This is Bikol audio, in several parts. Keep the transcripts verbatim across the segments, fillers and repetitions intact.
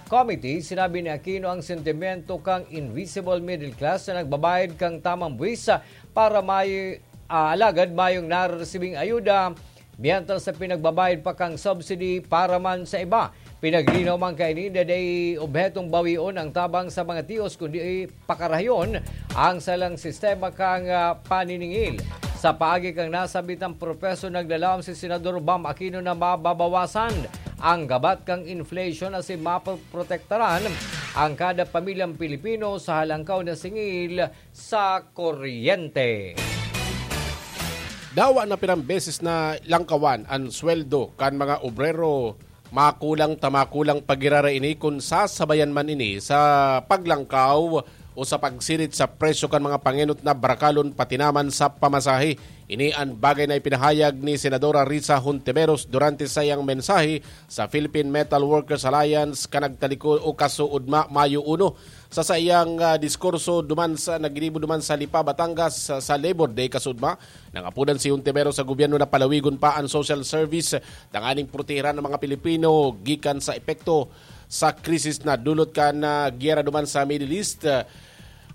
Committee, sinabi ni Aquino ang sentimiento kang invisible middle class na nagbabayad kang tamang buwis para may, ah, alagad mayong nareresibing ayuda, mientras sa pinagbabayad pa kang subsidy para man sa iba. Pinaglinaw man kaini na dai obhetong bawion ang tabang sa mga tios, kundi pakarahayon ang salang sistema kang, ah, paniningil. Sa paagi kang nasabitang proseso, naglaom si Senador Bam Aquino na mababawasan ang gabat kang inflation asin mapoprotektaran ang kada pamilyang Pilipino sa halangkaw na singil sa kuryente. Dawa na pirang beses na langkawan an sweldo kan mga obrero, makulang ta makulang pa giraray ini kun sasabayan man ini sa paglangkaw o sa pagsirit sa presyo kan mga pangenot na barakalon pati naman sa pamasahe. Ini an bagay na ipinahayag ni Senadora Risa Hontiveros durante sa iyang mensahe sa Philippine Metal Workers Alliance kan nagtalikod o kasuodma, Mayo uno. Sa saiyang, ah, diskurso duman sa, naginibo duman sa Lipa, Batangas, sa, sa Labor Day kasuodma, nangapodan si Hontiveros sa gobyerno na palawigon pa an social service tanganing protehiran ang mga Pilipino gikan sa epekto sa krisis na dulot kan, ah, giyera duman sa Middle East.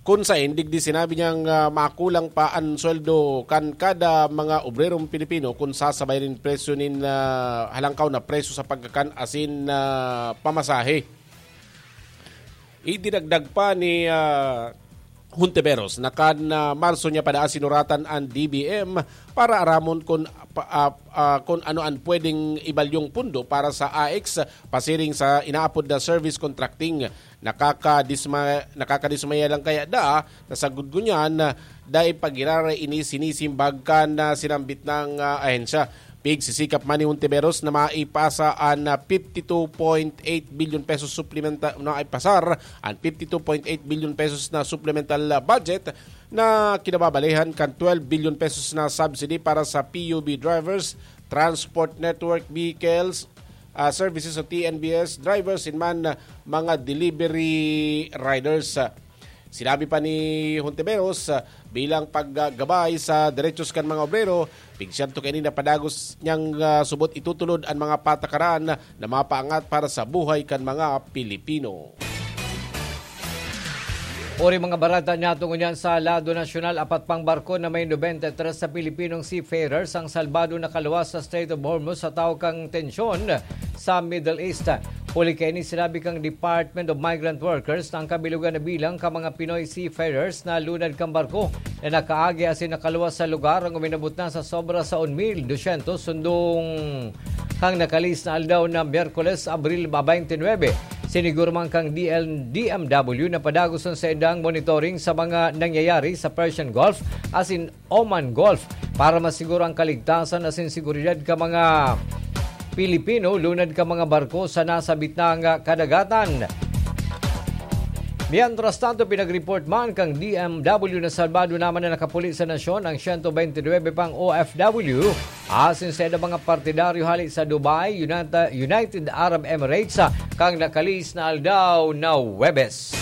Kun saen, digdi sinabi niyang, ah, makulang pa an sweldo kan kada mga obrerong Pilipino kun sasabayan nin presyo nin, ah, halangkaw na presyo sa pagkakan asin, ah, pamasahe. Idinagdag pa ni, ah, Hontiveros na kan, ah, Marso niya pa daa sinuratan an D B M para aramon kun pa, ah, ah, kun ano an pwedeng ibalyong pundo para sa A X pasiring sa inaapod na service contracting. Nakakadisma-, nakakadismaya lang kaya daa na sagkod ngunyan, ah, dai pa giraray ini sinisimbag kan, ah, sinambit nang, ah, ahensya. Pigsisikap man ni Hontiveros na maipasa an, ah, fifty two point eight billion pesos suplementa-, na ipasar an fifty two point eight billion pesos na supplemental, ah, budget na kinababalehan kan twelve billion pesos na subsidy para sa P U B drivers, transport network vehicles, ah, services o T N B S drivers, in man, ah, mga delivery riders. Sinabi pa ni Hontiveros, ah, bilang paggabay sa derechos kan mga obrero, pigsyento kaini na padagos niyang, ah, subot itutulod an mga patakaran na mapaangat para sa buhay kan mga Pilipino. Uri mga barata niyato ngunyan sa lado nasyonal, apat pang barko na may nobenta y tres sa Pilipinong seafarers ang salbado na kaluwas sa Strait of Hormuz sa tahaw kan tensyon sa Middle East. Huli kaini, sinabi kan Department of Migrant Workers na ang kabilogan na bilang kan mga Pinoy seafarers na lunad kan barko na nakaagi asin nakaluwas sa lugar ang uminabot na sa sobra sa un mil dosyentos, sundong kan nakalihis na aldaw na Miyerkules, Abril twenty-nine. Siniguro man kan D L, D M W na padagos an saindang monitoring sa mga nangyayari sa Persian Gulf asin Oman Gulf para masiguro ang kaligtasan asin seguridad kan mga Pilipino lunad kan mga barko sa nasabit na kadagatan. Mientras tanto, pinag-report man kan D M W na salbado naman na nakapuli sa nasyon ang siyento bente nuebe pang O F W asin sa mga partidaryo hali sa Dubai, United, United Arab Emirates, kan nakalihis na aldaw na Huwebes.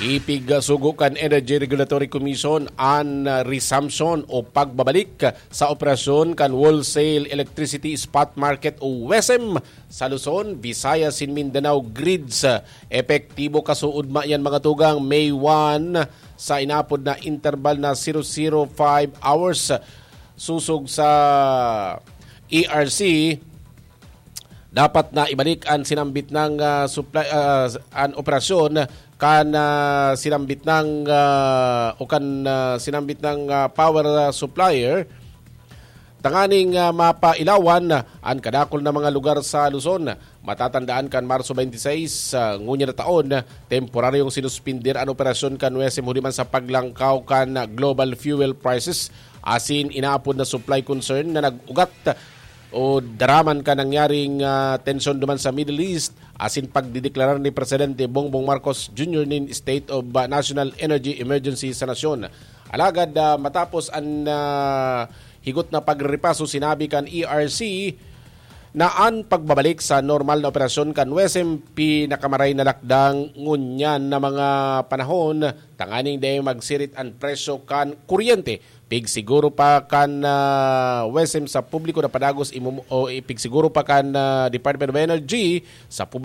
Ipigsugo kan Energy Regulatory Commission an resumption o pagbabalik sa operasyon kan Wholesale Electricity Spot Market o WESM sa Luzon, Visayas, asin Mindanao grids. Epektibo kasuodma yan, mga tugang, May one sa inapod na interval na zero zero five hours. Sosog sa E R C, dapat na ibalik an sinambit nang, ah, supply, ah, an operasyon kan, ah, sinambit nang, ah, o kan, ah, sinambit nang, ah, power, ah, supplier tanganing, ah, mapailawan an kadakul na mga lugar sa Luzon. Matatandaan kan Marso twenty-six, ah, ngunyan na taon, temporaryong sinuspender an operasyon kan WESM huli man sa paglangkaw kan global fuel prices asin inaapod na supply concern na nag-ugat o daraman kan nangyaring, ah, tensyon duman sa Middle East asin pagdedeklarar ni Presidente Bongbong Marcos Junior nin State of, ah, National Energy Emergency sa nasyon. Alagad, ah, matapos an, ah, higot na pagrepaso, sinabi kan E R C na an pagbabalik sa normal na operasyon kan WESM pinakamaray na lakdang ngunyan na mga panahon tanganing dai magsirit an presyo kan kuryente. Pigsiguro pa kan, ah, WESM sa publiko na padagos imo-, o ipigsiguro pa kan, ah, Department of Energy sa publiko